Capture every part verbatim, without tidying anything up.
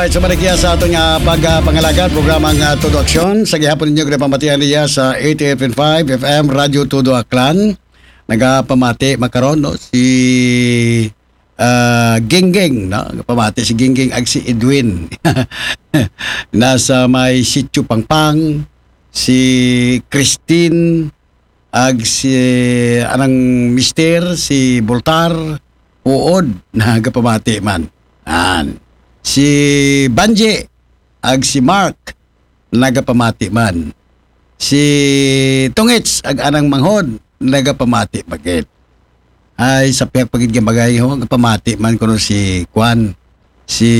Ay, sumalik sa aton nga pagpangalagad, programa nga Todo Aksyon. Sa gihapon ninyo, ginapamatian niya sa eighty-eight point five F M Radyo Todo Aklan. Nagapamati makaron, no? Si ah, Gingging, no? Nagapamati si Gingging ag si Edwin. Nasa may Sitio Pangpang, si Christine, ag si anang mister, si Boltar, Uod, nagapamati man. An. Si Banji, ag si Mark, nagapamati man. Si Tungits, ag anang manghod, nagapamati bagit. Ay, sa pihak pagid nga bagay ho, nagapamati man kuno si Kwan, si,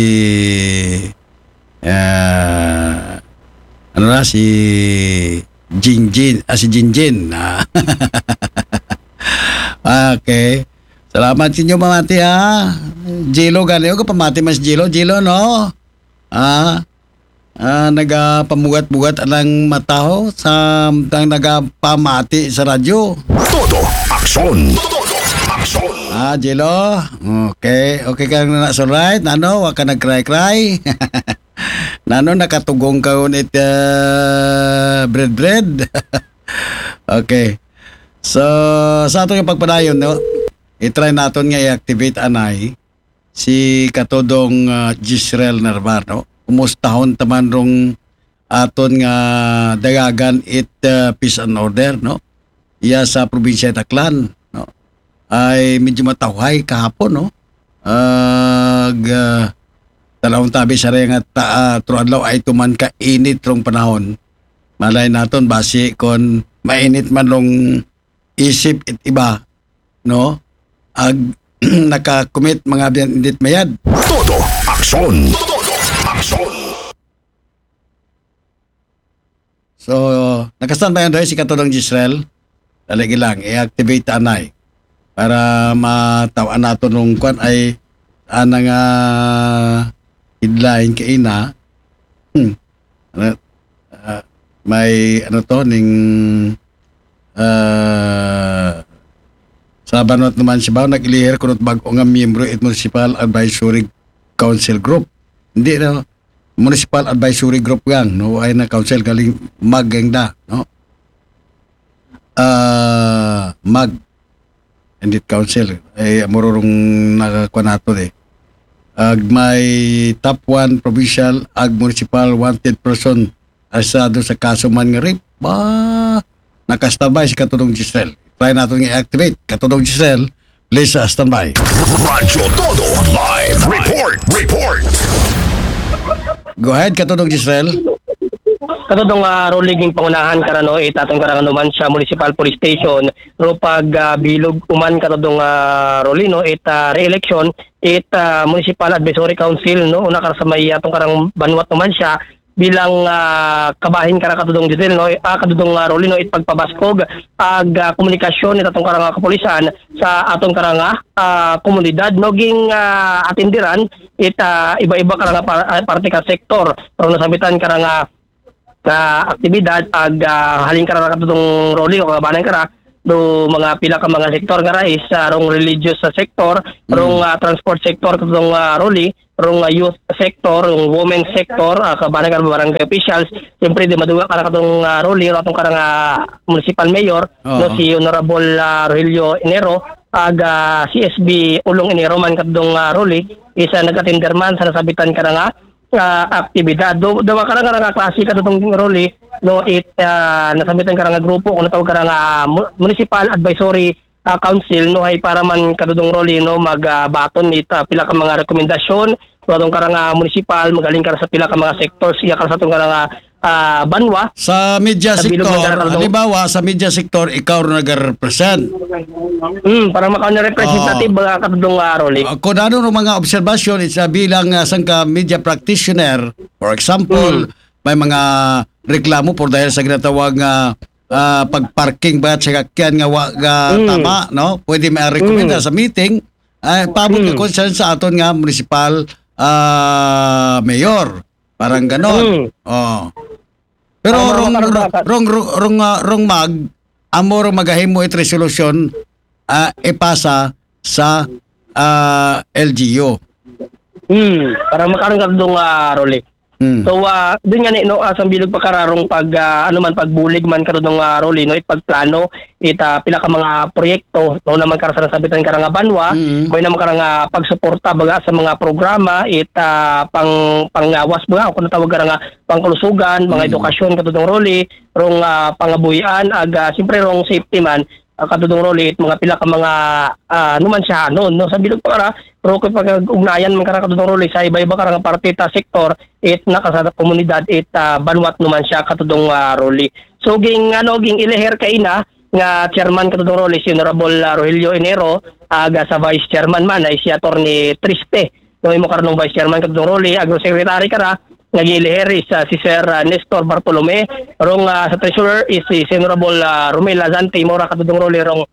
ah, ano na, si Jinjin, ah, si Jinjin. Ah. Okay. Salamat sa inyo, pamati, ha. Jilo, gani, oh, pamati man si Jilo. Jilo, no? Ah, ah, nagapamugat-bugat anang mata ho sa tang nagapamati sa radyo. Todo aksyon. Todo aksyon. Ah, Jilo. Okay. Okay ka na, all right? Nano, wa ka nag-cry-cry? Nano, nakatugong ka ngunit, ah, bread-bread? Okay. So, sa ato nga pagpadayon, no? I-try naton nga i-activate anay si Katodong, ah, Jezreel Narvar, no? Kumustahon taman rong aton nga dagagan it, ah, peace and order, no? Iya sa probinsya it Aklan, no? Ay medyo matawhay kahapon, no? Ag, ah, talawon tabi sa nga ta, ah, tro adlaw ay tuman ka init rong panahon. Malay naton basi kon mainit man rong isip it iba, no? Ag nakakumit mga biyan indit mayad. Todo aksyon. Todo aksyon. So, nakastan ba yan doy si Katodong Jezreel? Dali lang, i-activate anay para mataw-an naton nung kwan ay ana nga headline kaina. Hmm. Ano, ah, may ano to, ning, ah, sa banwat naman siya ba, nag-ilihir kunot bag-o nga miyembro it Municipal Advisory Council Group. Hindi, no? Municipal Advisory Group gang, no? Ay na council galing mag gang da, no? Ah, mag. Indit council. Ay, mururong nakakuha nato eh. Ag may top one provincial ag municipal wanted person arestado sa kaso man nga rape. Ba, nakastabay si Katudong Giselle. Try nato nga i-activate. Katudong Giselle, please, ah, standby. Radyo Todo Live Report. Report. Go ahead, Katudong Giselle. Katudong, ah, Rolly, ging pangunahan karano it aton karang Numancia Municipal Police Station, ro pag, ah, bilog uman katudong, ah, Rolly, no, it, ah, re-election it, ah, Municipal Advisory Council, no, una kara sa may aton karang banwat Numancia bilang, ah, kabahin kara katudong Giselle, no, ah, katudong, ah, Rolly, no, it pagpabaskog ag, ah, komunikasyon it aton karang kapulisan sa aton karang, ah, komunidad, no, ging, ah, atindiran it, ah, iba-iba karang par-, ah, parte ka sektor, pero nasabitan karang, ah, nga aktibidad ag, ah, halin kara katudong Rolly o kabanan kara do mga pila ka mga sektor nga rais, ah, rong religious sa sektor, rong, ah, transport sector katudong, ah, Rolly, rong, ah, youth sector, rong women sector, ah, kabanan kara barangay officials, siyempre di maduga kara katong, ah, Rolly, atong karang, ah, municipal mayor, no, si Honorable, ah, Rogelio Enero, ag, ah, C S B Ulong Enero man katong, ah, Rolly, isa nag-attender man sa nasabitan karang, ah, ah, aktibidad. Do, do, karang, karang klase katong Rolly, no, it, ah, nasabitan karang grupo, kung natawag karang, ah, mu-, Municipal Advisory, ah, Council, no, ay para man katudong Rolly, no, mag, ah, baton it, ah, pila ka mga rekomendasyon, no, atong karang, ah, municipal, magaling kara sa pila ka mga sectors, iya kara sa atong karang, ah, ah, banwa. Sa media sector, halimbawa, sa media sector, ikaw rin nag-represent. Hmm, para makaon na representative, mga katudong, ah, Rolly. Ah, kung ano ng mga obserbasyon, it's, ah, bilang, ah, sangka media practitioner, for example, may mga reklamo por dahil sa ginatawag nga, ah, pag-parking ba sa sakyan nga wa nga tama, no? Pwede may rekomenda sa meeting, ay, paabot ka concern sa aton nga municipal, ah, mayor. Parang ganon. Oh. Pero rong, rong, rong, rong, ah, rong mag, amo rong magahimo it resolusyon, ah, ipasa sa, ah, L G U. Hmm, para makaron ka dong, ah, Rolly. Mm. So, ah, dun nga ni, no, ah, sa bilog pa kararong pag, ah, ano man, pagbulig man kato dong, ah, Rolly, no, ipagplano, ita pila ka mga proyekto, no, naman kara sa nasabitan kara nga banwa, Mm. may naman kara nga pagsuporta, baga, sa mga programa, ita pang, panggawas, baga, kung natawag kara nga pangkalusugan, mga Mm. edukasyon, kato dong Rolly, rong, ah, pangabuhian, aga, siyempre, rong safety man, ah, kato dong Rolly, it mga pila ka mga, ah, ano man siya, no, no, sa bilog pa kara, pero kung pag-ugnayan man kara kato dong Rolly, sa iba-iba kara nga parte ta sektor, it naka sa komunidad, it, ah, banwat naman siya kato dong, ah, Rolly. So, ging, ano, ging iliher kaina nga chairman kato dong Rolly, si Honorable, ah, Rogelio Enero, aga sa vice chairman man, ay si Attorney Triste. No, imo karon vice chairman kato dong Rolly, agro secretary kara, nga ging iliher is, ah, si Sir, ah, Nestor Bartolome, rong, ah, sa treasurer is si, si Honorable, ah, Romel Lazante, imo ra kato dong Rolly, rong,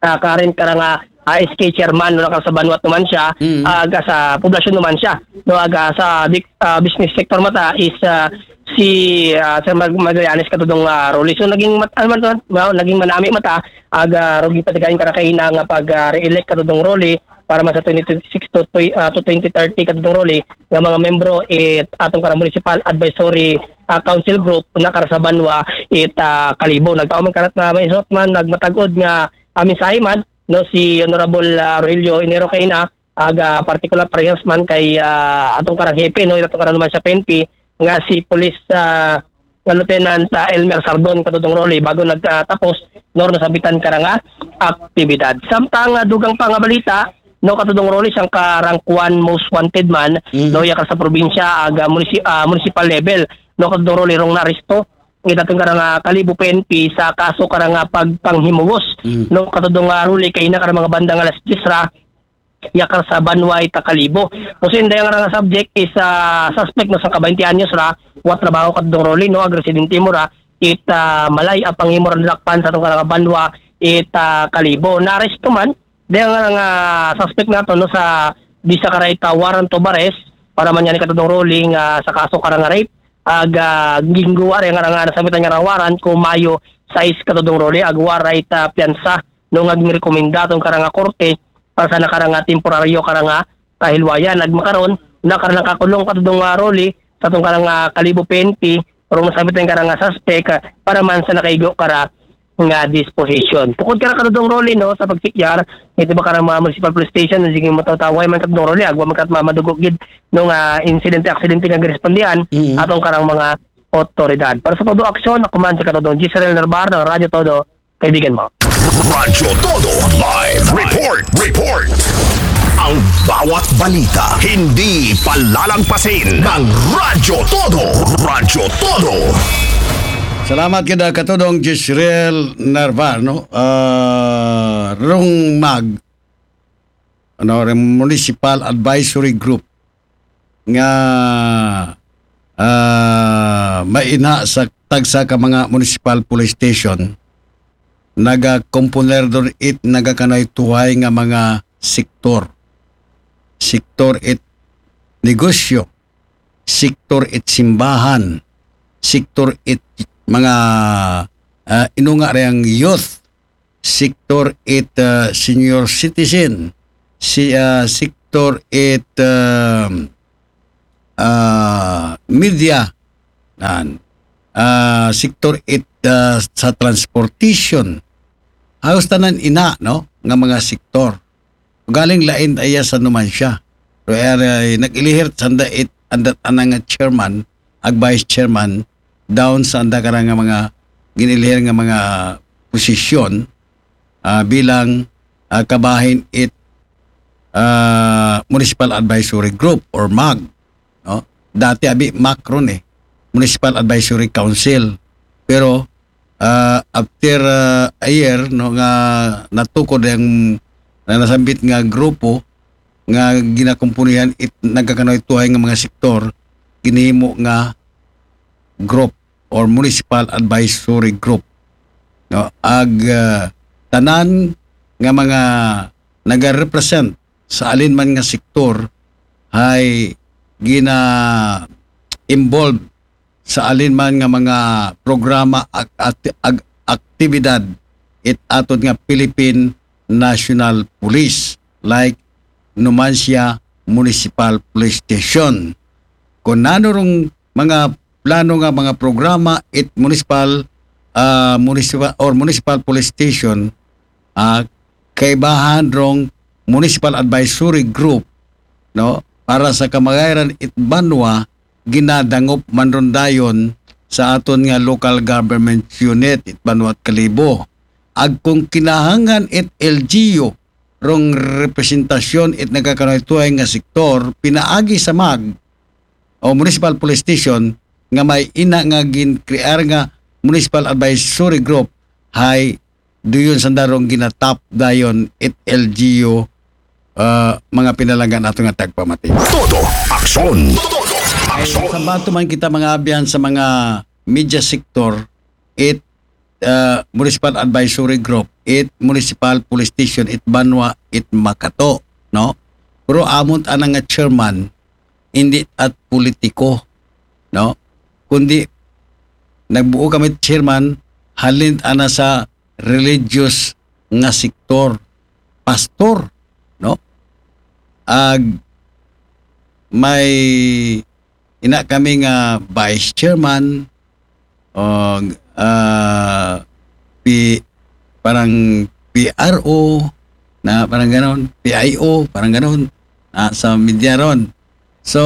ah, current kara nga, ah, S K chairman, no, kara sa banwat naman siya, Mm. ah, aga sa poblasyon naman siya, no, aga sa dik-, ah, business sector mata is, ah, si, ah, Sir Mag-, Magallanes kato dong, ah, Rolly. So, naging mat-, ano man to, no, naging manami mata, aga rugi patigayon kara kaina nga pag, ah, re-elect kato dong Rolly para man sa twenty twenty-six to, to, ah, to twenty thirty kato dong Rolly nga mga membro it atong kara municipal advisory, ah, council group na kara sa banwa it, ah, Kalibo. Nagtao man karat na may isot man, nagmatagod nga, ah, mensahe man, no, si Honorable, ah, Rogelio Enero kaina, aga partikular parehas man kay, ah, atong karang hepe, no, atong karang naman sa P N P, nga si Police, ah, nga Lieutenant, ah, Elmer Sardon, kato dong Rolly, bago nagtapos, no, nasabitan kara nga aktibidad. Samtang, ah, dugang pa nga balita, no, kato dong Rolly, sang karangkuan most wanted man, Mm. no, yakar sa probinsya, aga munisi-, ah, municipal level, no, kato dong Rolly, rong naaresto, itaton kara nga Kalibo P N P sa kaso kara nga pagpanghimuwos, Mm. no, kato dong, ah, Rolly, kaina kara mga banda nga alas diyes ra, yakar sa banwa ita Kalibo. Usin dayang nga subject is, ah, suspect no, sa ka twenty anyos ra, wa trabaho kato dong Rolly, no, ag residente mo ra, it, ah, malay-a panghimo ra nadakpan sa atong kara nga banwa, it, ah, Kalibo. Naaresto man, dayang nga suspect nato, no, sa bisa kara ita warrant of arrest, para man yan kato dong Rolly, nga sa kaso kara nga rape, aga gingguwa rin nga nga nasabitan nga warrant ko Mayo sais kato dong Rolly, agwa ra ita piyansa, no, nga gingrekomenda atong kara nga korte, para sa nakara nga temporaryo kara nga kahilwayan. Nagmakaron, nakara nakakulong kato dong, ah, Rolly, sa atong kara nga Kalibo P N P, pero nasabit ang kara nga suspect, ah, para man sa nakaigo kara nga disposition. Tukod kara kato dong Rolly, no, sa pagsikyar, ito ba karang mga municipal police station, na sige matawtaway man kato dong Rolly, agwa man kat mamadugo gid, no, nga insidente, aksidente nga girespondihan, Mm. atong karang mga otoridad. Para sa Todo Aksyon, ako man si kato dong Gisrael Narbar ng Radyo Todo, kaibigan mo. Radyo Todo Live Report. Report. Ang bawat balita, hindi palalagpasin ng Radyo Todo. Radyo Todo. Salamat kita kato dong Gisrael Narvar, no? Ah, rong mag, ano, rong Municipal Advisory Group nga, ah, maina sa tagsa ka mga municipal police station, nagakomponer dong it nagakanaytuhay nga mga sektor. Sektor it negosyo, sektor it simbahan, sektor it mga, ah, inunga rayang youth, sektor it, ah, senior citizen, si, ah, sektor it, ah, ah, media, nan, ah, sektor it, ah, sa transportation. Halos tanan ina, no, nga mga sektor. Galing lain aya sa numan siya. Pero ay, nag-ilihir sanda it, andat anang nga chairman, ag vice chairman, down sa anda karang nga mga ginilihir nga mga posisyon, ah, bilang, ah, kabahin it, ah, Municipal Advisory Group or mag, no? Dati abi MAC ron eh, Municipal Advisory Council. Pero, ah, after, ah, a year, no, nga natukod ang na nasambit nga grupo nga ginakumpunihan it nagkakanaytuhay nga mga sektor, ginhimo nga group or municipal advisory group, no? Ag, ah, tanan nga mga nagarepresent sa alin man nga sektor ay gina-involve sa alin man nga mga programa, ak-, ati-, ag-, aktibidad it atod nga Philippine National Police, like Numancia municipal police station. Kung nano rong mga plano nga mga programa it municipal, ah, municipal or municipal police station, ah, kaibahan rong municipal advisory group, no, para sa kamagayran it banwa, ginadangop man ron dayon sa aton nga local government unit it banwa at Kalibo. Ag kung kinahanglan it L G U rong representasyon it nagkakanuhay-tuhay nga sektor pinaagi sa mag o municipal police station nga may ina nga ginkrear nga municipal advisory group, hay duyon sanda rong ginatap dayon it L G U, ah, mga pinalangga nato nga tagpamati. Todo aksyon. Ay, aksyon. Sa bato man kita mga abyan sa mga media sector, it, ah, municipal advisory group, it municipal police station, it banwa, it Makato, no? Pero amon ana nga chairman, hindi at politiko, no? Kundi nagbuo kami chairman, halin ana sa religious nga sektor, pastor, no? Ag may ina kami nga vice chairman, o, ah, P-, parang P R O, na parang ganon, P I O, parang ganon, ah, sa media ron. So,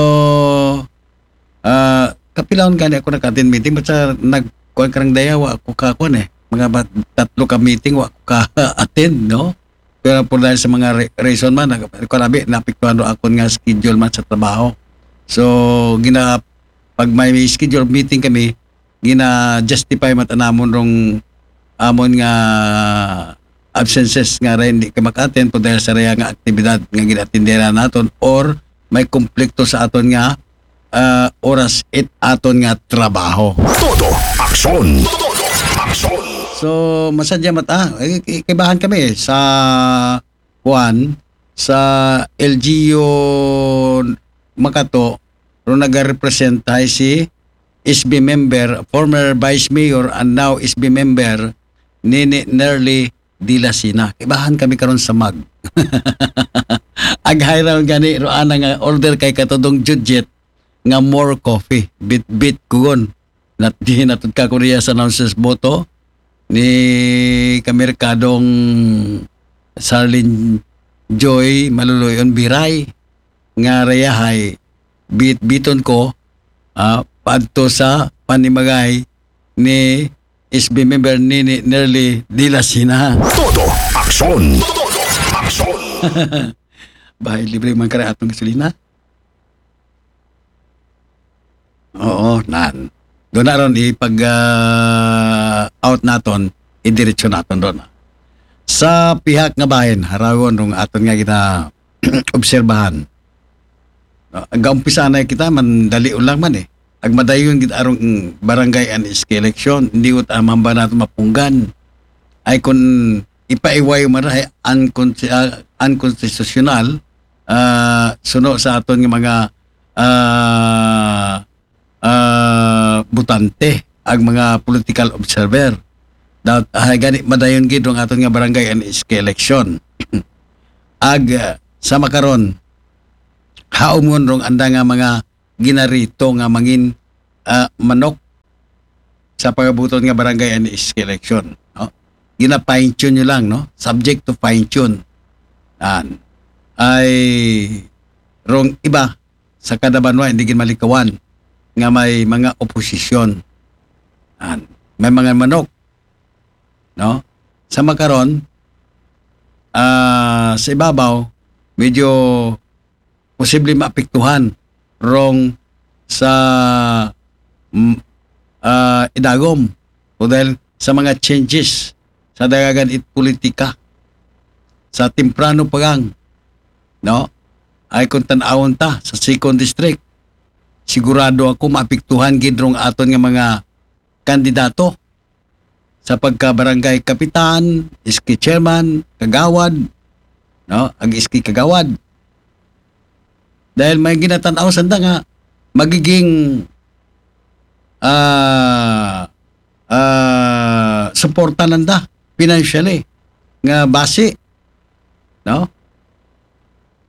ah, kapilahon gani ako nag-attend meeting, basta nagkuan karang daya, wa ako kakuan eh. Mga bat-, tatlo ka meeting, wa ako ka-attend, no? Pero por dahil sa mga re-, reason man, nag-, kuan abi, naapektuhan ro akon nga schedule man sa trabaho. So, gina-, pag may schedule meeting kami, gina-justify man ta namon rong amon nga absences nga rin di ka maka-attend por dahil sa raya nga aktibidad nga gina-attendera naton or may konflikto sa aton nga, ah, oras it aton nga trabaho. Todo aksyon. Todo aksyon. So, masadya man ta, eh, eh, kaibahan kami sa kuan, sa L G U Makato, ro nagarepresenta si S B member, former vice mayor and now S B member, Nini Nerly Dilasina. Kaibahan kami karon sa mag. Ag-hiral gani ro ana nga order kay katudong Judget nga more coffee. Bit-bit kugon. Nat-, di natud ka Korea sa announcers boto ni Kamerkadong Sarlin Joy Maluluyon Biray nga rayahay bit-biton ko, ah, padto sa panimagay ni S B member Nini Nerly Dilasina. Todo aksyon. Todo aksyon. Bahay libre man kara atong gasolina. Oo, nan. Doon na ron, ipag, ah, out naton, idiretso naton doon. Sa pihak nga bahin, harawon rong aton nga gina-, obserbahan. Ah, gaumpisa na kita, man dali lang man eh. Ag madayon gid arong, mm, barangay and S K election, hindi ut amamba nato mapunggan. Ay kun ipaiway man ra, ay unconsti-, ah, unconstitutional, ah, suno sa aton nga mga, ah, ah, botante, ag mga political observer. Dapat, ah, gani madayon gid ang aton nga barangay and S K election. Ag, ah, sa makaron, haumon rong anda nga mga ginarito nga mangin, ah, manok sa pagabuton nga barangay and S K election, no? Gina-fine tune nyo lang, no? Subject to fine tune. Yan. Ay, rong iba sa kada banwa, hindi gid malikawan nga may mga oposisyon. Yan. May mga manok, no? Sa makaron, ah, sa ibabaw, medyo posible maapektuhan rong sa, mm, ah, idagom o dahil sa mga changes sa dagagan it politika sa temprano pa gang, no? Ay kung tan-awon ta sa second district, sigurado ako maapektuhan gid rong aton nga mga kandidato sa pagka barangay kapitan, S K chairman, kagawad, no? Ag S K kagawad. Dahil may ginatan-aw sanda nga magiging, ah, ah, suporta nanda financially nga base, no?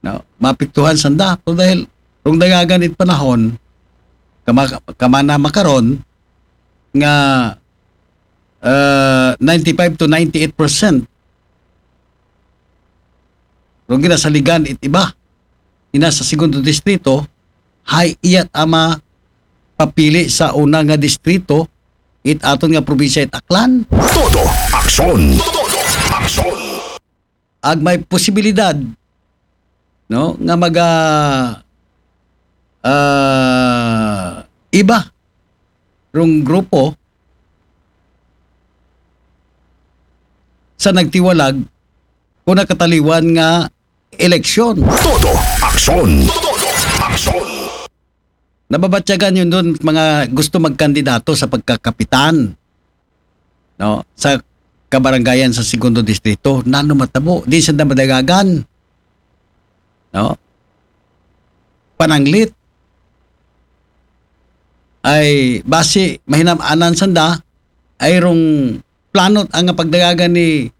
No? Maapektuhan sanda. Pero dahil rong dagagan it panahon, kama, kama na makaron, nga uh, ninety-five to ninety-eight percent rong ginasaligan it iba. Ina sa segundo distrito, hay iyat ama papili sa una nga distrito, it aton nga probinsya it Aklan. Todo aksyon. Todo aksyon. Ag may posibilidad, no, nga maga ah, iba rong grupo sa nagtiwalag kung nakataliwan nga eleksyon. Todo aksyon. Todo aksyon. Nababatyagan yun doon mga gusto magkandidato sa pagkakapitan, no, sa kabarangayan sa segundo distrito. Nano matabo? Di sanda madagagan, no? Pananglit. Ay basi mahinam-anan sanda ay rong plano ang pagdagagan ni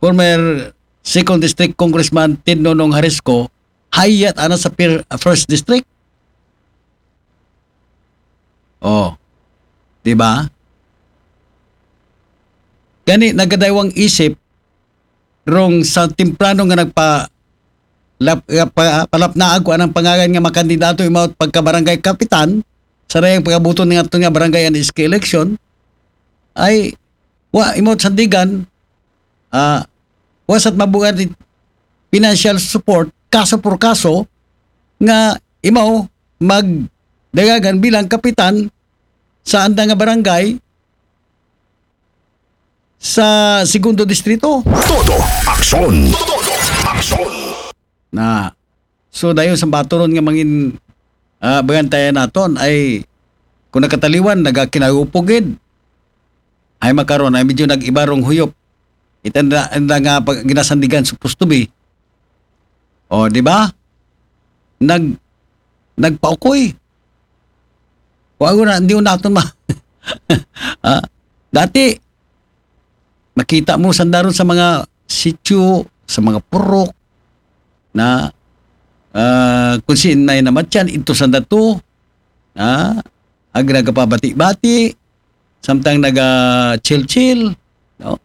former second district congressman Ted Nonong Harisco, hayat ana sa fir-, first district. Oh, di ba? Gani nagadaywang isip rong sa temprano nga nagpa lap, pa, palapnaag ko anang pangalan nga makandidato imawat pagkabarangay kapitan sa dayang pagabuton nga ato nga barangay and S K election, ay wa imawat sandigan, ah, wa sat mabuhat it financial support kaso por kaso nga imaw magdagagan bilang kapitan sa anda nga barangay sa segundo distrito. Todo aksyon. Todo aksyon. Na, so dayon sa baturon nga mangin, ah, bangantayan naton ay kung nakataliwan nagakinagupog gid. Ay makaron ay medyo nag-iba rong huyop. Itanda anda nga pag ginasandigan supposed to be. O, di ba? Nag nagpaukoy. Wa ko na, hindi ko naton ma. Ah, dati, makita mo sandaron sa mga sityo, sa mga purok, na ah, kung saan may namatyan, ito sa dato, ah, ag nagapabati-bati, samtang naga-chill-chill, no?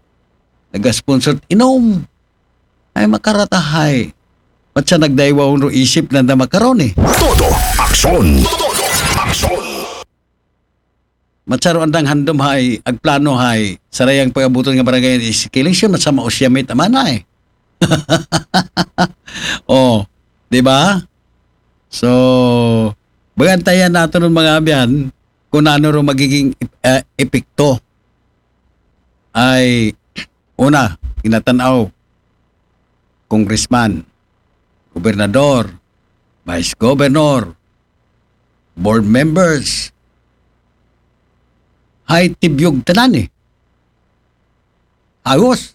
Naga-sponsor inom. Ay makaratahay. Ba't siya nagdaywa ro isip na na makaron eh? Todo aksyon. Todo aksyon. Matsaro andang handom hay, agplano hay, sarayang pagabuton nga barangay is killing siya, matsa mausyamit aman hay. Oh, di ba? So, bagantayan nato ng mga abyan kung ano ro magiging ep- eh, epekto ay una, inatanaw, congressman, gobernador, vice governor, board members, hay tibyog tanan eh. Agos.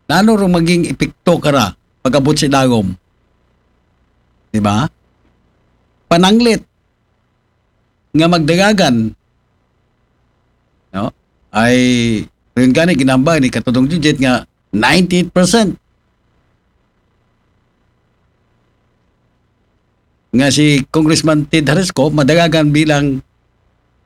Nano rong maging epekto kara pagabot sa dagom? Di ba? Pananglit nga magdagagan, no? Ay, rin gani ginambag ni Katudong Jujit nga ninety-eight percent nga si Congressman Ted Harisco madagagan bilang